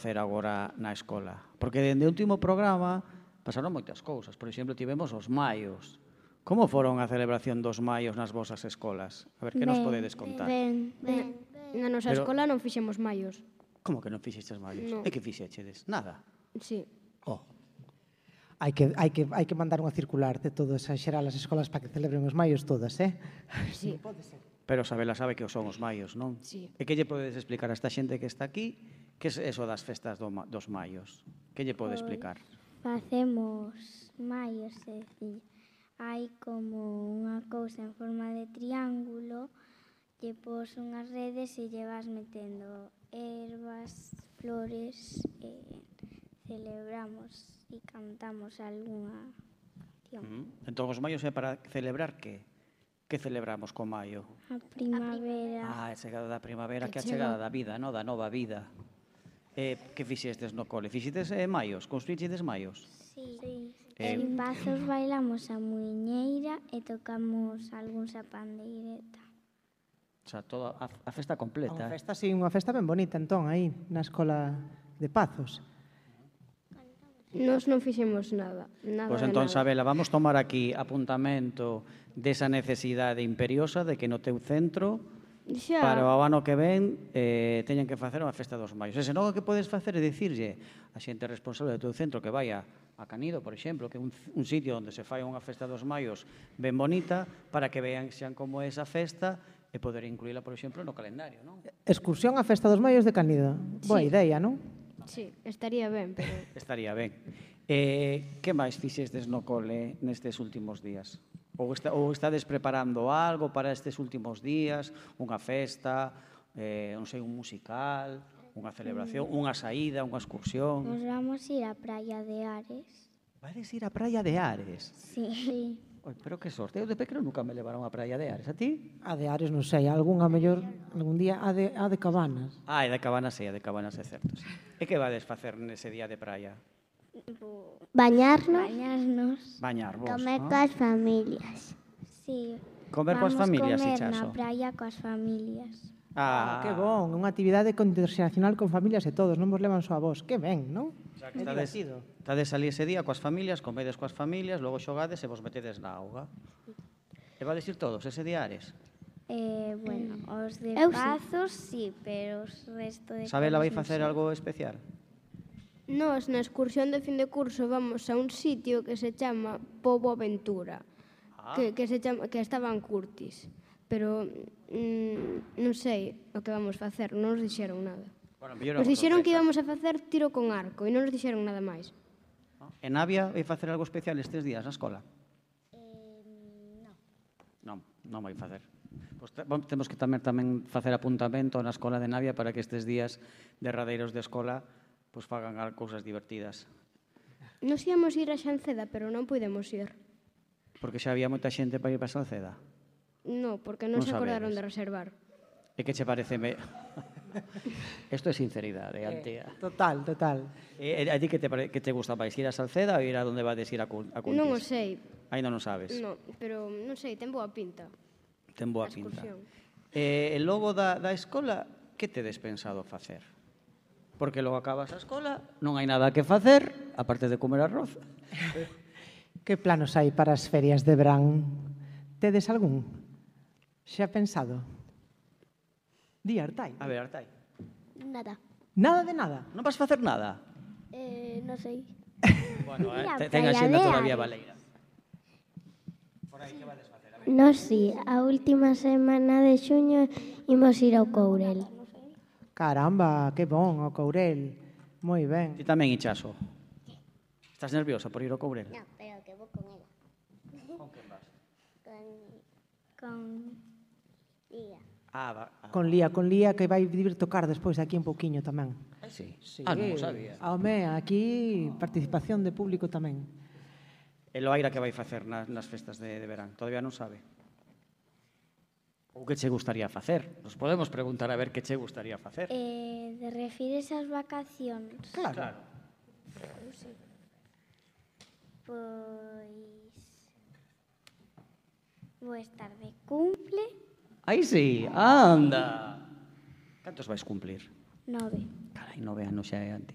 facer agora na escola? Porque dende o último programa pasaron moitas cousas. Por exemplo, tivemos os maios. Como foron a celebración dos maios nas vosas escolas? A ver, que nos podedes contar? Ben. Na nosa escola non fixemos maios. Como que non fixestes maios? Non. E que fixechedes? Nada. Sí. Oh. Hai que mandar unha circular de todas a xeral as escolas para que celebren os maios todas, Sí. Pero Sabela sabe que son os maios, non? Sí. E que lle podedes explicar a esta xente que está aquí que é eso das festas dos maios? Que lle pode explicar? Facemos maios, é dicir, hai como unha cousa en forma de triángulo, lle pos unhas redes e lle vas metendo ervas, flores, e celebramos e cantamos algunha canción. Entón, os maios é para celebrar que? Que celebramos co maio? A primavera. A chegada da primavera, que a chegada da vida, no? Da nova vida. Que fixestes no cole? Fixestes maios? Construíxedes maios? Sí. En Pazos bailamos a muiñeira e tocamos algúns a pandeireta. O sea, toda a festa completa. Unha festa ben bonita, entón, aí, na escola de Pazos. Nos non fixemos nada. Pois entón, Sabela, vamos tomar aquí apuntamento desa necesidade imperiosa de que no teu centro para o ano que ven teñen que facer unha festa dos maios. E senón o que podes facer é dicirlle a xente responsable do teu centro que vaya a Canido, por exemplo, que é un sitio onde se fai unha festa dos maios ben bonita para que vean xan como é esa festa e poder incluíla, por exemplo, no calendario, non? Excursión á festa dos maios de Canido. Boa idea, non? Sí, estaría ben, pero... Estaría ben. Que máis fixestes no cole nestes últimos días? Ou estades preparando algo para estes últimos días? Unha festa, non sei, un musical, unha celebración, unha saída, unha excursión? Nos vamos ir á praia de Ares. Vades ir á praia de Ares? Sí. Oi, pero que sorte, eu de pequeno nunca me levaron á praia de Ares, a ti? A de Ares, non sei, algún día a de Cabanas. E de Cabanas é certo, sí. E que vades facer nese día de praia? Bañarnos. Bañarvos, Comer non? coas familias. Sí. Comer coas familias, Vamos Ichaso? comer na praia coas familias. Que bon, unha actividade interxeracional con familias e todos, non vos levan só a vos. Que ben, non? Que estades ali ese día coas familias, comedes coas familias, logo xogades e vos metedes na auga. E vades ir todos ese día a Ares? Bueno, os de Eu sí. Pazos sí, pero os resto de... Sabela vai coles non facer sei. algo especial? Nos, na excursión de fin de curso, vamos a un sitio que se chama Pobo Aventura, que estaba en Curtis. Pero non sei o que vamos facer, non nos dixeron nada. Bueno, Nos dixeron que íbamos a facer tiro con arco e non nos dixeron nada máis. En Navia vai facer algo especial estes días na escola? Non vai facer. Pois temos que tamén facer apuntamento na escola de Navia para que estes días derradeiros de escola pois fagan cousas divertidas. Nos íamos ir a Xanceda, pero non pudemos ir. Porque xa había moita xente para ir para Salceda. No, porque non Non se acordaron sabedes. de reservar. E que che parece... Isto é sinceridade, Antía. Total. A ti que te gusta máis? Ir a Salceda ou ir a donde vades ir a Cuntis? Non o sei. Ainda non sabes? No, pero non sei, ten boa pinta. Ten boa A pinta. excursión. E logo da escola, que tedes pensado facer? Porque logo acabas a escola, non hai nada que facer, aparte de comer arroz. Que planos hai para as ferias de verán? Tedes algún? Xa pensado? Di, Artai. A ver, Artai. Nada. Nada de nada? Non vas facer nada? Non sei. Bueno, Ir á ten a praia xenda de todavía Ares. baleira. Por aí, que vades facer? A ver. Nos sí, a última semana de xuño imos ir ao Courel. Caramba, que bon, o Courel. Moi ben. Ti tamén, Ichaso. Estás nerviosa por ir ao Courel? No, pero que vou con ela. Con quen vas? Con Lía. Con Lía, que vai vir tocar despois aquí un pouquiño tamén. Sí. Non o sabía. Home, aquí participación de público tamén. E Loaira que vai facer nas festas de verán? Todavía non sabe. Ou que che gustaría facer? Nos podemos preguntar a ver que che gustaría facer. De refires ás vacacións? Claro. Pois... vou estar de cumple. Aí sí, anda. Cantos vais cumplir? 9. Carai, 9 anos xa é antes.